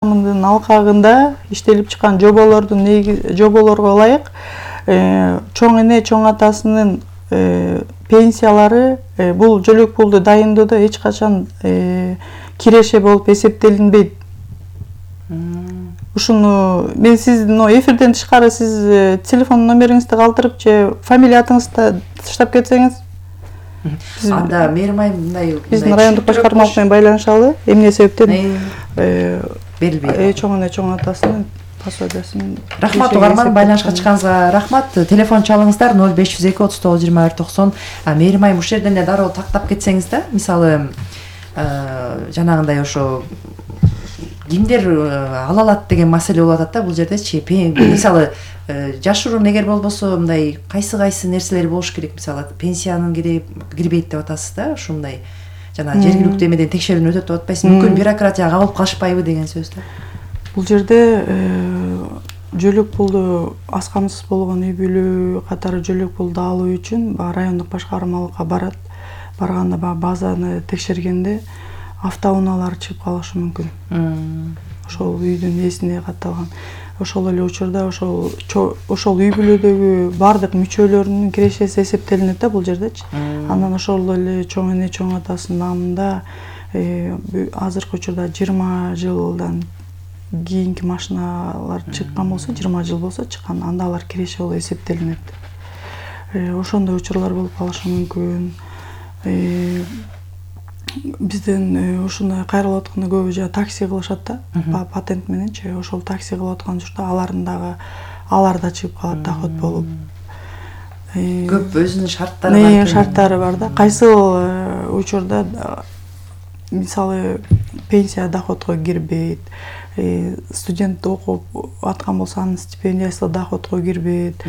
Мындын алкагында иштелип чыккан жоболорго ылайык чоң эне, чоң атасынын пенсиялары бул жөлөк пулду дайындоодо эч качан киреше болуп эсептелинбейт. Ушуну мен сиздин эфирден тышкары сиз телефон номериңизди калтырып же фамилия атыңызды таштап кетсеңиз. Анда Мээрим мындай биздин райондук башкармалык менен байланышалы. Эмне себептен берилбейт. Чоң эне, чоң атасынын пособиясын. Рахмат угарман, байланышка чыкканыңызга рахмат. Телефон чалыңыздар 0502 39 21 90. Мээрим айым ушул жерден эле дароо тактап кетсеңиз да, мисалы жанагындай ошо кимдер ала алат деген маселе болуп атат да бул жердечи. Мисалы жашыруун эгер болбосо мындай кайсы нерселер болуш керек, мисалы пенсиянын кирбейт деп атасыз да, ушундай жана жергиликтүү эмеден текшерүүнү өтөт деп атпайсызбы? Мүмкүн бюрократияга кабылып калышпайбы деген сөз да. Бул жерде жөлөк пулду аз камсыз болгон үй бүлө катары жөлөк пулду алуу үчүн райондук башкармалыкка барганда базаны текшергенде автоунаалар чыгып калышы мүмкүн. Ошол үйдүн ээсине катталган. Ошол эле учурда ошол үй бүлөдөгү бардык мүчөлөрүнүн кирешеси эсептелинет да бул жердечи. Андан ошол эле чоң эне, чоң атасынын намында азыркы учурда 20 жылдан кийинки машиналар чыккан болсо, 20 жыл болсо чыккан, анда алар киреше болуп эсептелинет. Ошондой учурлар болуп калышы мүмкүн. Бизден ушундай кайрылып атканда көбү жана такси кылышат да, патент мененчи. Ошол такси кылып аткан учурда алар да чыгып калат доход болуп. Көп өзүнүн шарттары бар. Шарттары бар да. Кайсыл учурда мисалы пенсия доходко кирбейт. Студент окуп аткан болсо анын стипендиясы доходко кирбейт.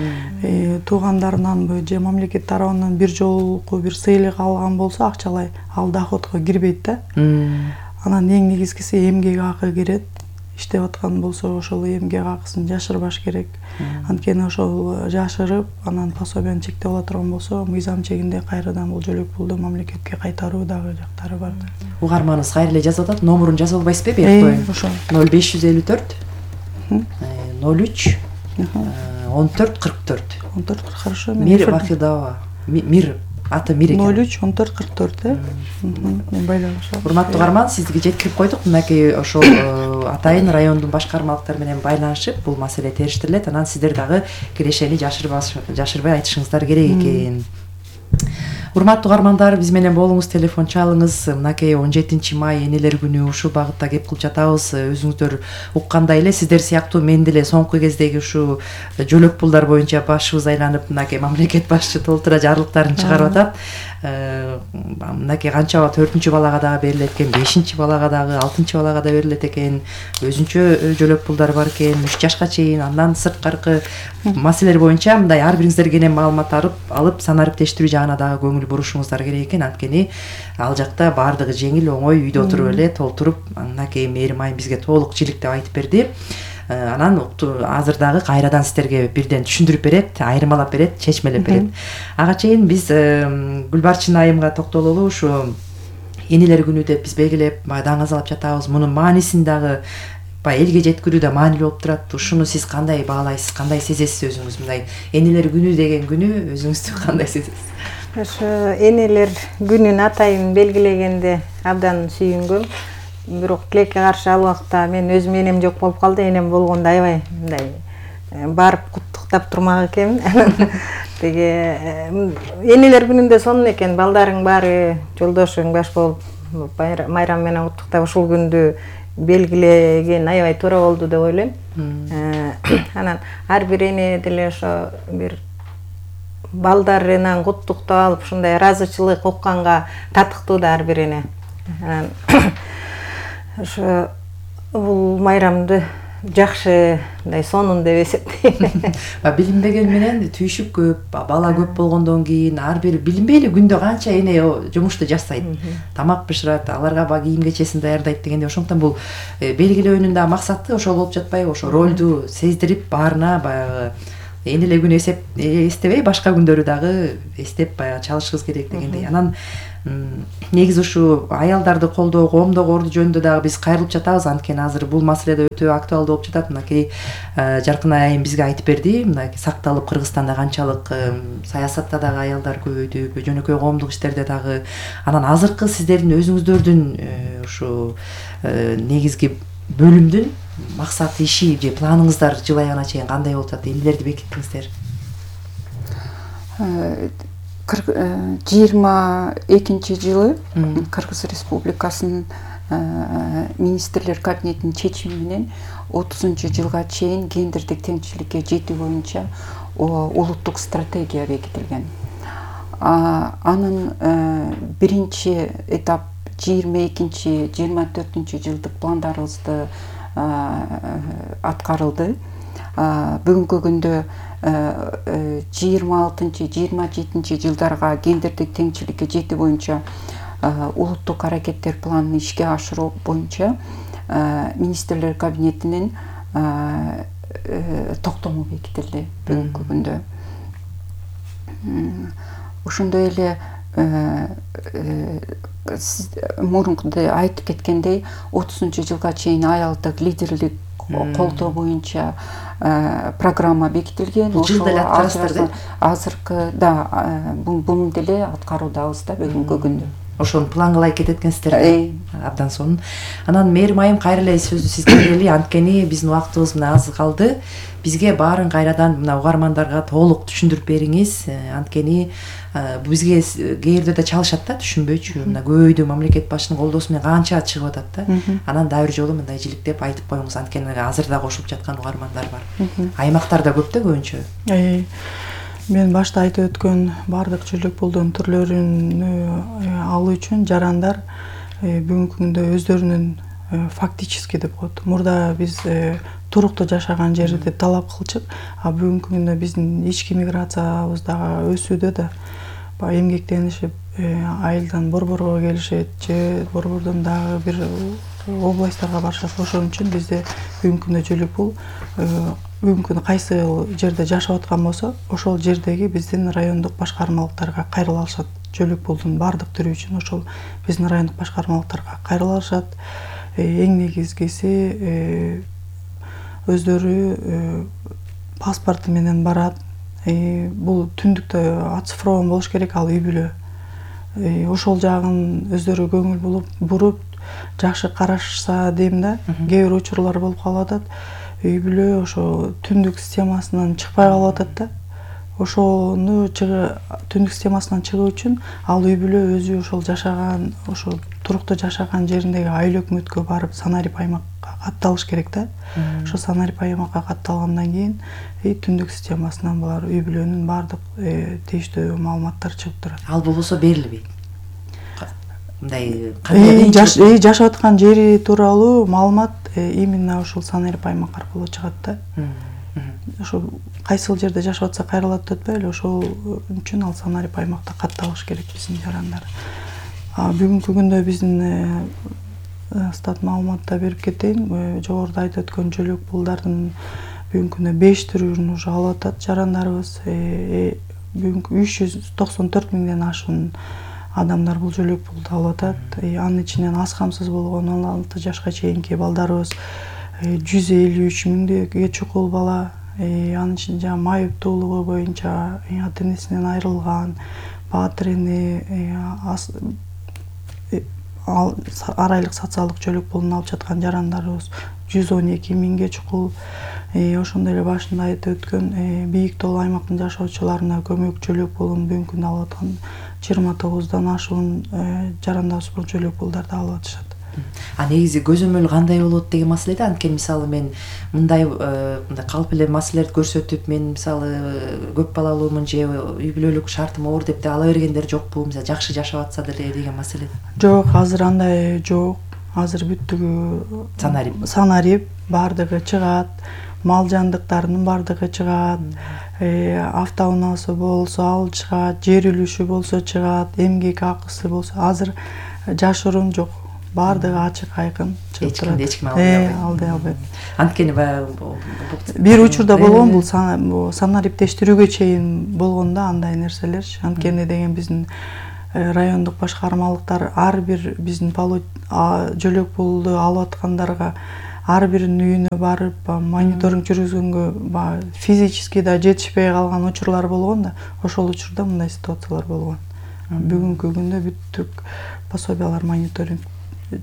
Туугандарынан же мамлекет тарабынан бир жолку бир сыйлык алган болсо акчалай, ал доходко кирбейт да. Анан эң негизгиси эмгек акы кирет. Иштеп аткан болсо ошол эмгек акысын жашырбаш керек. Анткени ошол жашырып, анан пособияны чектеп ала турган болсо, мыйзам чегинде кайрадан бул жөлөк пулду мамлекетке кайтаруу дагы жактары бар да. Угарманыбыз кайра эле жазып атат, номерун жазып албайсызбы бек? Ошо 0554 03 14 44. 14 хорошо. Мир Вахидова. Мир аты Мир экен. 03 14 44 мен байланышам. Урматтуу угарман, сизге жеткирип койдук. Мынакей ошол атайын райондун башкармалыктары менен байланышып, бул маселе териштирилет. Анан сиздер дагы кирешени жашырбай айтышыңыздар керек экен. Урматтуу угармандар, биз менен болуңуз, телефон чалыңыз. Мынакей 17 май энелер күнү ушул багытта кеп кылып жатабыз. Өзүңүздөр уккандай эле сиздер сыяктуу мен деле соңку кездеги ушу жөлөк пулдар боюнча башыбыз айланып, мынакей мамлекет башчы толтура жарлыктарын чыгарып атат. Мынакей канча 4-чү балага дагы берилет экен, 5-чи балага дагы, 6-чы балага да берилет экен. Өзүнчө жөлөк пулдар бар экен, 3 жашка чейин. Андан сырткаркы маселелер боюнча мындай ар бириңиздер кенен маалымат алып, санариптештирүү жагына дагы көңүл бурушуңуздар керек экен. Анткени ал жакта баардыгы жеңил, оңой, үйдө отуруп эле толтуруп, мынакей Мээрим айым бизге толук жиликтеп айтып берди. Анан азыр дагы кайрадан сиздерге бирден түшүндүрүп берет, айырмалап берет, чечмелеп берет. Ага чейин биз Гүлбарчын айымга токтололу. Ушу энелер күнү деп биз белгилеп, даңазалап жатабыз. Мунун маанисин дагы элге жеткирүү да маанилүү болуп турат. Ушуну сиз кандай баалайсыз, кандай сезесиз өзүңүз? Мындай энелер күнү деген күнү өзүңүздү кандай сезесиз? Ошо энелер күнүн атайын белгилегенде абдан сүйүнгөм. Бирок тилекке каршы ал убакта мен өзүм энем жок болуп калды. Энем болгондо аябай мындай барып куттуктап турмак экенмин. Теге энелер күнүндө сонун экен, балдарың баары жолдошуң баш болуп майрам менен куттуктап ушул күндү белгилеген аябай туура болду деп ойлойм. Анан ар бир эне деле ошо бир балдарынан куттуктап алып, ушундай ыраазычылык укканга татыктуу да ар бир эне. Анан ошо бул майрамды жакшы, мындай сонун деп эсептейм. Билинбеген менен түйшүк көп, бала көп болгондон кийин ар бир билинбейли күндө канча эне жумушту жасайт, тамак бышырат, аларга кийим кечесин даярдайт дегенде, ошондон бул белгилөөнүн да максаты ошол болуп жатпайбы? Ошо ролду сездирип баарына баягы энелер күнү эстебей башка күндөрү дагы эстеп баягы чалышыбыз керек дегендей. Анан Негизи ушу аялдарды колдоо, коомдогу орду жөнүндө дагы биз кайрылып жатабыз, анткени азыр бул маселе өтө актуалдуу болуп жатат. Мынакей Жаркын айым бизге айтып берди, мынакей сакталып Кыргызстанда канчалык саясатта дагы аялдар көбөйдү, жөнөкөй коомдук иштерде дагы. Анан азыркы сиздердин өзүңүздөрдүн ушу негизги бөлүмдүн максат иши же планыңыздар жыл аягына чейин кандай болуп жатат? Эмнелерди бекиттиңиздер? 22 жылы Кыргыз Республикасынын министрлер кабинетинин чечими менен 30 жылга чейин гендердик теңчиликке жетүү боюнча улуттук стратегия бекитилген. Анын биринчи этап 22-24 жылдык пландарыбызды аткарылды. Бүгүнкү күндө 26-27 жылдарга гендердик теңчиликке жетүү боюнча улуттук аракеттер планын ишке ашыруу боюнча министрлер кабинетинин токтому бекитилди бүгүнкү күндө. Ошондой эле мурункудай айтып кеткендей 30 жылга чейин аялдык лидерлик колдоо боюнча программа бекитилген. Ошол азыркы буну деле аткаруудабыз да бүгүнкү күндө. Ошону план кылып кетет экенсиздер. Абдан сонун. Анан мээрим айым кайра эле сөздү сизге берели, анткени биздин убактыбыз мына аз калды. Бизге баарын кайрадан мына угармандарга толук түшүндүрүп бериңиз. Анткени бизге кээ жерде да чалышат да, түшүнбөйчү. Мына көбөйдү мамлекет башчынын колдоосу менен канча чыгып атат да. Анан дагы бир жолу мындай жиликтеп айтып коюңуз, анткени азыр да кошулуп жаткан угармандар бар. Аймактарда көп да көбүнчө. Мен башта айтып өткөн бардык жүлүк булдун түрлөрүн алуу үчүн жарандар бүгүнкү күндө өздөрүнүн фактически деп коет. Мурда биз туруктуу жашаган жерди талап кылчык, а бүгүнкү күндө биздин ички миграциябыз дагы өсүүдө да. Эмгектенишип айылдан борборго келишет же борбордон дагы бир областтарга барышат. Ошон үчүн бизде бүгүнкү күндө жүлүк бул бүгүнкү күндө кайсы жерде жашап аткан болсо, ошол жердеги биздин райондук башкармалыктарга кайрыла алышат. Жүлүк булдун бардык түрү үчүн ошол биздин райондук башкармалыктарга кайрыла алышат. Эң негизгиси өздөрү паспорту менен барат. Бул түндүктө оцифрован болуш керек, ал үй бүлө. Ошол жагын өздөрү көңүл буруп жакшы карашса дейм да. Кээ бир учурлар болуп калып атат. Үй бүлө ошо түндүк системасынан чыкпай калып атат да. Ошону түндүк системасынан чыгуу үчүн ал үй бүлө өзү ошол жашаган, ошол туруктуу жашаган жериндеги айыл өкмөткө барып санарип аймакка катталыш керек да. Ошо санарип аймакка катталгандан кийин түндүк системасынан булар үй бүлөнүн бардык тийиштүү маалыматтары чыгып турат. Ал болбосо берилбейт. Мындай жашап аткан жери тууралуу маалымат именно ошол санарип аймак аркылуу чыгат да. Ошо кайсыл жерде жашап атса кайрылат деп атпайбы, ошол үчүн ал санарип аймакта катталыш керек биздин жарандар. Бүгүнкү күндө биздин стат маалыматта берип кетейин. Жогоруда айтып өткөн жүлүк булдардын бүгүнкү күндө 5 түрүн уже алып атат жарандарыбыз. Бүгүнкү 394 миңден ашуун адамдар бул жүлүк булду алып атат. Анын ичинен аз камсыз болгон 16 жашка чейинки балдарыбыз 153 миңдеге чукул бала. Анын ичинде жана майыптуулугу боюнча ата энесинен айрылган, баатыр эне, ар айлык социалдык жүлүк булун алып жаткан жарандарыбыз 112 миңге чукул. Ошондой эле башында айтып өткөн бийик тоол аймактын жашоочуларына көмөк жүлүк булун бүгүнкү күндө алып аткан 29дан ашуун жарандарыбыз бул жүлүк булдарды алып атышат. Негизи көзөмөл кандай болот деген маселеде, анткени мисалы мен мындай калп эле маселелерди көрсөтүп, мен мисалы көп балалуумун же үй бүлөлүк шартым оор деп ала бергендер жокпу? Мисалы жакшы жашап атса деле деген маселе. Жок, азыр андай жок. Азыр бүттүгү санарип бардыгы чыгат. Мал жандыктарынын бардыгы чыгат. Автоунаасы болсо ал чыгат, жер үлүшү болсо чыгат, эмгек акысы болсо. Азыр жашыруун жок. Бардыгы ачык айкын чыгып турат. Эч ким албай албайт. Анткени бир учурда болгон бул санариптештирүүгө чейин болгон да андай нерселерчи. Анткени деген биздин райондук башкармалыктар ар бир биздин жөлөк пулду алып аткандарга ар биринин үйүнө барып мониторинг жүргүзгөнгө физически да жетишпей калган учурлар болгон да, ошол учурда мындай ситуациялар болгон. Бүгүнкү күндө бүттүк пособиялар мониторинг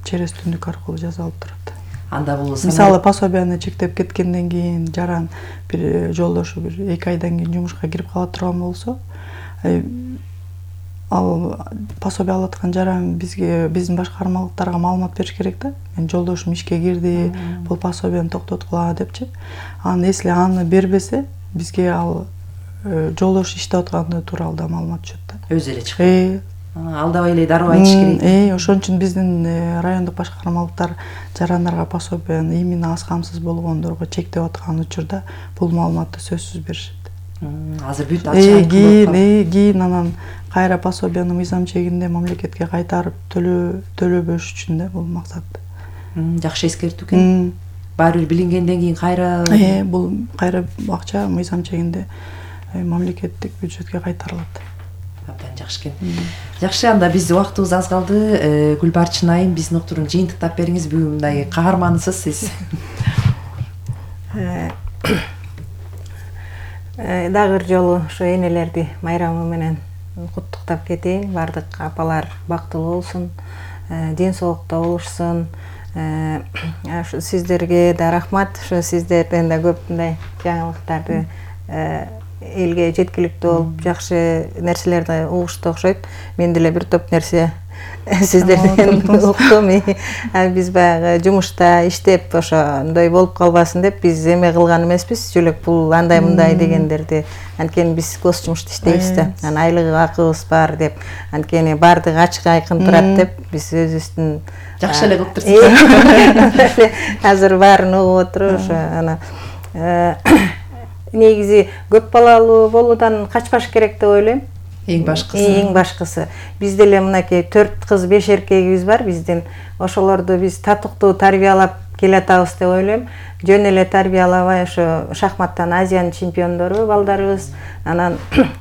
через түндүк аркылуу жасалып турат. Анда бул Мисалы пособияны чектеп кеткенден кийин жаран бир жолдошу бир 2 айдан кийин жумушка кирип кала турган болсо, ал пособия алып аткан жаран биздин башкармалыктарга маалымат бериш керек да. Мен жолдошум ишке кирди, бул пособияны токтоткула депчи. Если аны бербесе, бизге ал жолдош иштеп атканы тууралуу да маалымат түшөт да. Өзү эле чыгат. Алдабай эле дароо айтыш керек. Ошон үчүн биздин райондук башкармалыктар жарандарга пособияны именно аз камсыз болгондорго чектеп аткан учурда бул маалыматты сөзсүз беришет. Азыр бүт ачык кийин анан кайра пособияны мыйзам чегинде мамлекетке кайтарып төлөбөш үчүн да бул максат. Жакшы эскертүү экен. Баары бир билингенден кийин кайра бул кайра акча мыйзам чегинде мамлекеттик бюджетке кайтарылат. Абдан жакшы экен. Жакшы, анда биздин убактыбыз аз калды. Гүлбарчын айым, биздин уктурууну жыйынтыктап бериңиз. Бүгүн мындай каармансыз сиз. Дагы бир жолу ошо энелерди майрамы менен куттуктап кетейин. Бардык апалар бактылуу болсун, ден соолукта болушсун. Сиздерге да рахмат. Ошо сиздерден да көп мындай жаңылыктарды элге жеткиликтүү болуп, жакшы нерселерди угушту окшойт. Мен деле бир топ нерсе сиздерден уктум. Биз баягы жумушта иштеп ошондой болуп калбасын деп биз эме кылган эмеспиз. Жөлөк пул андай мындай дегендерди. Анткени биз гос жумушта иштейбиз да. Айлыгы акыбыз бар деп, анткени баардыгы ачык айкын турат деп биз өзүбүздүн жакшы эле кылып турсуз. Азыр баарын угуп отуруп ошо негизи көп балалуу болуудан качпаш керек деп ойлойм. Эң башкысы. Бизде эле мынакей 4 кыз 5 эркегибиз бар биздин. Ошолорду биз татыктуу тарбиялап келатабыз деп ойлойм. Жөн эле тарбиялабай ошо шахматтан Азиянын чемпиондору балдарыбыз. Анан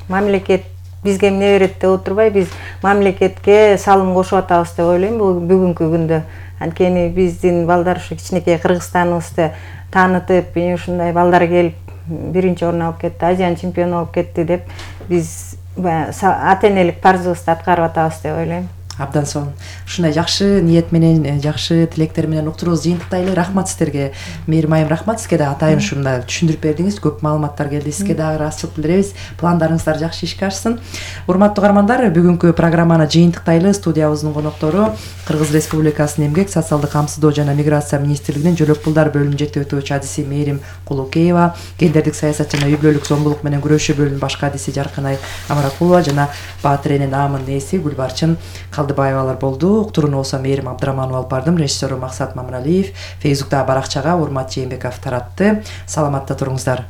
мамлекет бизге эмне берет деп отурбай, биз мамлекетке салым кошуп атабыз деп ойлойм бүгүнкү күндө. Анткени биздин балдар ушу кичинекей Кыргызстаныбызды таанытып, ушундай балдар келип биринчи орун алып кетти, Азиянын чемпиону болуп кетти деп биз ата-энелик парзыбызды аткарып атабыз деп ойлойм. Абдан сонун. Ушундай жакшы ниет менен, жакшы тилектер менен уктуруубузду жыйынтыктайлы. Рахмат сиздерге. Мээрим айым, рахмат сизге да атайын ушундай түшүндүрүп бердиңиз. Көп маалыматтар келди. Сизге дагы ыраазычылык билдиребиз. Пландарыңыздар жакшы ишке ашсын. Урматтуу каармандар, бүгүнкү программаны жыйынтыктайлы. Студиябыздын коноктору Кыргыз Республикасынын Эмгек, социалдык камсыздоо жана миграция министрлигинин жөлөк пулдар бөлүмү жетектөөчү адиси Мээрим Кулукеева, гендердик саясат жана үй бүлөлүк зомбулук менен күрөшүү бөлүмүнүн башкы адиси Жаркынай Амаракулова жана Баатыренин Аамынын ээси Гүлбарчын Калдыбаевалар болду. Уктурууну болсо Мээрим Абдыраманова алып бардым. Режиссеру Максат Мамыралиев, Фейсбуктагы баракчага Урмат Жээнбеков таратты. Саламатта туруңуздар.